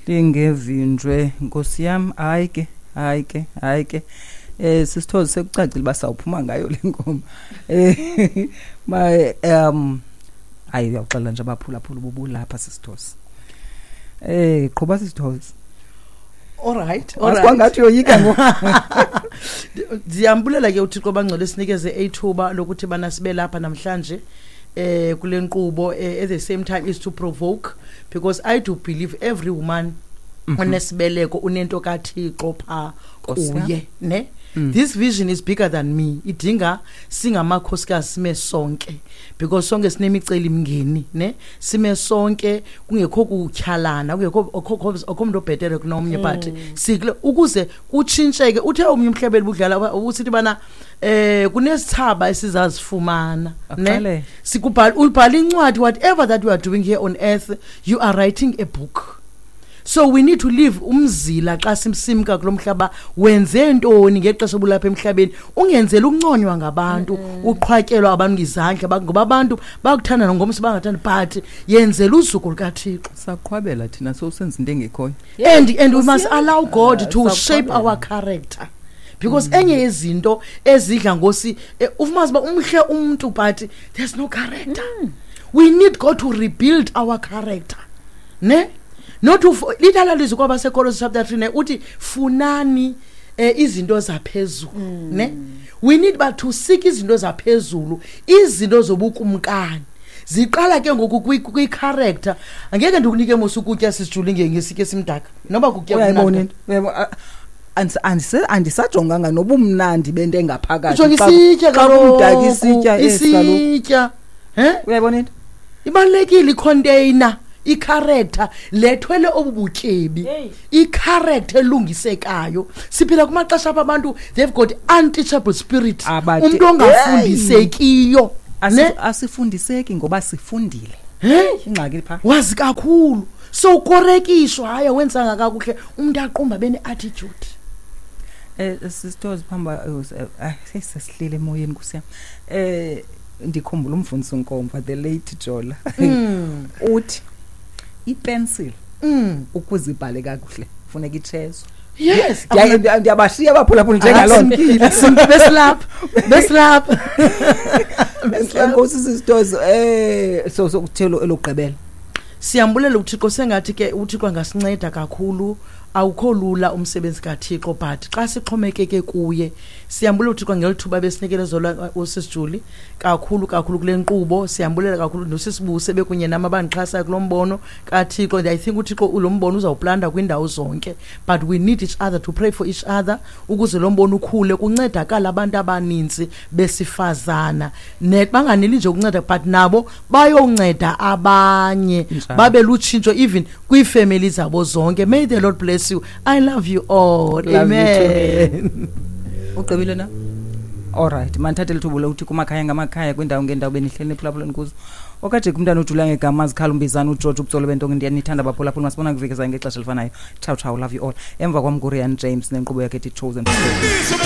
Lingevinjwe, nkosi yam. Hayi ke, hayi ke, hayi ke. Sisithozi, sekucacile uba sawuphuma ngayo le ngoma. Ma hayi, uyawuxelela nje abaphulaphula ububulapha, sisithozi. Qhuba, sisithozi. Alright. Kwangathi uyoyika ngoku. Ndiyambulela ke uThixo bangcwele sinikeze ithuba lokuthi bana sibe lapha namhlanje kule nkqubo. At the same time is to provoke, because I do believe every woman onesibeleko unento kaThixo pha Nkosi yam. kuye, ne. This vision is bigger than me. Idinga singamakhosikazi sime sonke, because sonke sinemiceli mngeni, ne. Sime sonke, kungekho kutyhalana, kungekho akho umuntu obhetere kunomnye, but sikle ukuze kutshintsheke. Uthe omnye umhlebeli budlala usithi bana kunesithaba esizazifumana, ne. Aqale. Sikubhala, ubhala incwadi. Whatever that you are doing here on earth, you are writing a book. So we need to leave umzila xa simsimka kulo mhlaba. Wenze ntoni ngexesha obulapha emhlabeni? Ungenzeli ukunconywa ngabantu, uqhwatyelwa abantu ngezandla, ngoba abantu bakuthanda nongomso bangathandi, but yenzela uzuko lukaThixo. Saqhwabela thina sowusenza into engekhoyo. And we must allow God to shape Saqhwabela. our character, because enye yezinto ezidla ngosi ufumanise uba umhle umntu, but there's no character. We need God to rebuild our character, ne. Not lithala lizwi kwabaseKolose chapter 3, ne, uthi funani izinto zaphezulu, ne. We need but to seek izinto zaphezulu, izinto zobukumkani. Ziqala ke ngoku kwi-character. Angeke ndikunike mos ukutya, sisijule, ngesitya esimdaka noba kutya Uyayibona kumnandi. into? Uyayibona? Andisajonganga nobumnandi bento engaphakathi. Ujonga isitya. Xa kumdaka isitya esi kaloku. Isitya, he. Uyayibona into? Ibalulekile icontainer, icharacter lethwele obu butyebi. Hey. Icharacter elungisekayo. Siphila kumaxesha apha abantu, they've got unteachable spirit. Umntu ongafundisekiyo, ne. Asifundiseki ngoba sifundile. He? Ingxaki pha. Wazi kakhulu, so ukorekishwa, hayi, awenzanga kakuhle, umntu aqumba bene-attitude. Sisters, phamba sesihlele emoyeni kusiya. Ndikhumbula umfundisi uNkomfa, the late Jola. Uthi ipencil ukuze ibhale kakuhle funeka itshezwe. Ndiyabashiya abaphulaphula njengaloo nto. Besilapha, besilapha. Enkosi, sisters. So kuthelo elokugqibela. Siyambulela uThixo. Sengathi ke uThixo angasinceda kakhulu. Awukho lula umsebenzi kaThixo, but xa sixhomekeke kuye. Siyambulela uThixo ngelithuba besinikele zola usisijuli kakhulu kakhulu kule nkqubo. Siyambulela kakhulu nosisibuse bekunye nam abandixhasayo kulo mbono kaThixo. And I think uThixo lo mbono uzawuplanta kwiindawo zonke, but we need each other to pray for each other ukuze lo mbono ukhule, kuncedakala abantu abaninzi besifazana, ne banganeli nje ukunceda, but nabo bayonceda abanye. Babe lutshintsho even kwiifemeli zabo zonke. May the Lord bless you. I love you all. Love you too. Amen. Ugqibile na? Alright, mandithathe lithuba lokuthi kumakhaya ngamakhaya, kwiindawo ngeendawo benihleli niphulaphuleni kuzo. Okajeka umntana ujula ngegama azikhala umbizana uGeorge ubutsolo bentonke. Ndiyanithanda, baphulaphula. Masibona kuvikezayo ngexesha elifanayo. Ciao ciao, love you all. Emva kwam nguRian James nenkqubo yakhe ethi Chosen.